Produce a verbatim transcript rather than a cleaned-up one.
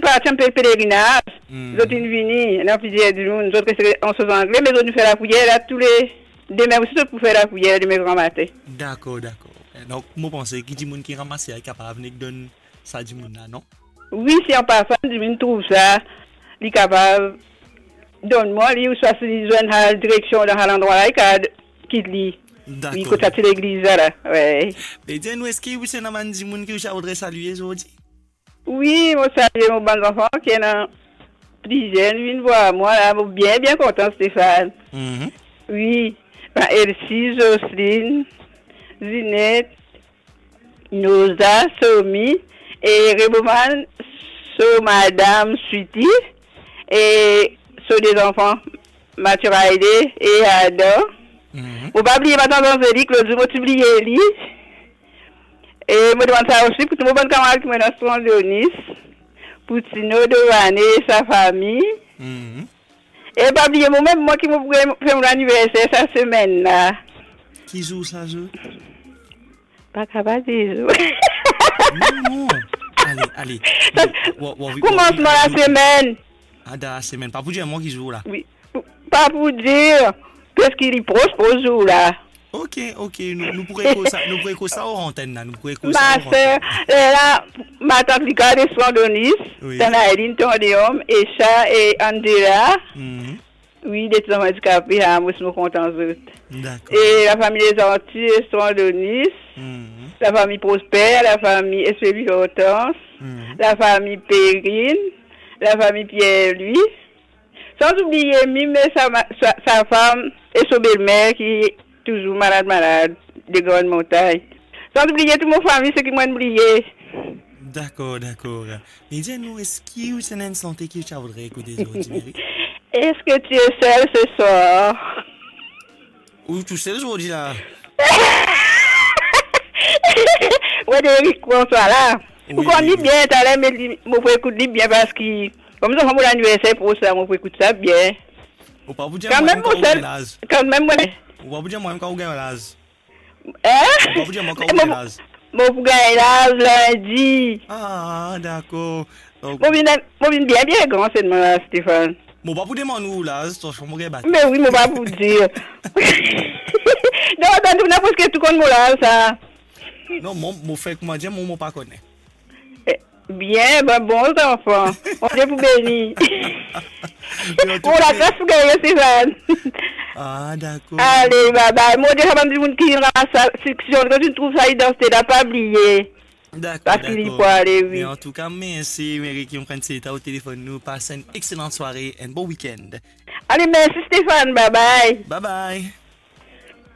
parti an pe-, pelerinaz, Hmm. zot inn vini, ena plizier dimoun, zot reste an soz angle, me zot inn fer lapriyer la, toule demin osi zot pou fer lapriyer demin gramatin. Dakor, dakor. Donk, mo panse ki dimoun ki ramase la, li kapav nek donn sa dimoun la, non? Wi, si an pasan dimoun trouv sa, li kapav donn mwa li, ouswa si li zwenn al direksion dan sa landrwa la, li kapav kit li. Dakor. Wi, kot sa ti legliz la, la. Wi. Me dir nou, eski ou ti ena bann dimoun ki ou ti a voudre salie zordi? Wi, mo salie mo bann zanfan ki ena plizier, vinn vwar mwa la, mo bien, bien kontan, Stéphane. Mhm. Wi, bann Elsie, Jocelyne, Zinette, Noza, Somi, e Reboman, so madam Sweetie, e so de zanfan, Mathieu Raide e Adam. Mhm. Mo pa bliye matant Angélique, lot zour mo ti bliye li. E mo demann sa osi pou tou mo bann kamarad ki mo ena Strand Donis, pou Tino Dovane e sa fami. Mhm. E pa bliye mo mem, mwa ki mo pou fer mo laniverser sa semenn la. Ki zour sa zour? Pa kapav dir zour. Non, non. Ale, ale. Sa, koumansman lasemenn. Ah, dan lasemenn. Pa pou dir mwa ki zour la. Wi. Pou, pa pou dir, paski li pros, pros zour la. Ok, ok. Nou, nou pou ekout sa, nou pou ekout sa or antenn la. Nou pou ekout sa or antenn. Ma ser, eh, la, matant Lika de Strand Donis, wi. Tanaeline, Tandéum, Esha e Angela. Mhm. Wi, de ti zanfan andikape, ah, mo ti mo kontan zot. Dakor. E lafami Lezanti, Strand Donis, mhm, lafami Prosper, lafami Espéry Hortense, mhm, lafami Perrine, lafami Pierre-Louis. San oubliye Mim e sa ma-, sa, sa fam e so belmer ki touzour malad, malad, de Grann Montagn. San oubliye tou mo fami, seki mo'nn bliye. Dakor, dakor. Me dir nou, eski ou ti ena enn sante ki ou ti a voudre ekoute zordi, Mary? Est-ce que tu es seul ce soir? Ou tousel zordi la? Wi, Eric, bonswar la. Wi, wi. Ou konn li bien, taler, me li, mo pou ekout li bien, paski, kouma zanfan mo laniverser pros la, mo pou ekout sa bien. Ou pa pou dir mwa kan ou gagn laz. Kanmem, mwa. Ou pa pou dir mwa kan ou gagn laz. Hein? Ou pa pou dir mwa kan ou gagn laz. Mo pou gagn laz lindi. Ah, dakor. Donk mo vinn, mo vinn bien, bien gran selman la, Stéphane. Mo pa pou demann ou laz, to, mo gagn bat. Me wi, mo pa pou dir. Non, tann tou, na preske tou konn mo laz sa. Non, mo, mo fer kouma dir, mo, mo pa kone. Eh, bien, bon, bon zanfan. Bondie pou beni. Mo lagras pou gagn, Stéphane. Ah, dakor. Ale, bye bye. Mo dir sa bann dimoun ki ramas sa, si, si zot trouv sa idantite la, pa bliye. Dakor, dakor. Paski li pou ale, wi. Me antouka, mersi, Mary, ki pran ti tan o telefonn nou. Pas enn exelan sware, enn bon weekend. Ale, mersi, Stéphane. Bye bye. Bye bye.